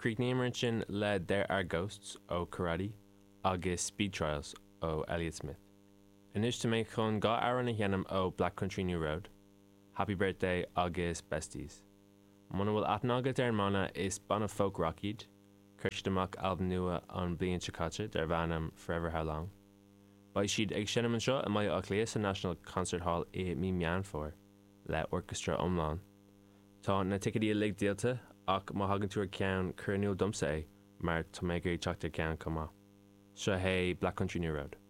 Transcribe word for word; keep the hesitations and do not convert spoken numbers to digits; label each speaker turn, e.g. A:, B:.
A: Chríochnaíomar ansin le There Are Ghosts ó Karate agus Speed Trials ó Elliott Smith. Anois tá mé chun dhá amhrán a sheinm ó Black Country New Road, Happy Birthday agus Besties. Muna bhfuil aithne agat ar an mbanna is banna folk rock iad, chuir siad amach albam nua an bhliain seo caite darb ainm Forever How Long. Beidh siad ag seinm anseo i mBaile Átha Cliath sa National Concert Hall i mí Meán Fómhair le orchestra iomlán. Tá na ticéid uilig díolta ach má thagann tú ar ceann cuir in iúl domsa é mar tá mé ag teacht ar ceann chomh maith. Seo é Black Country New Road.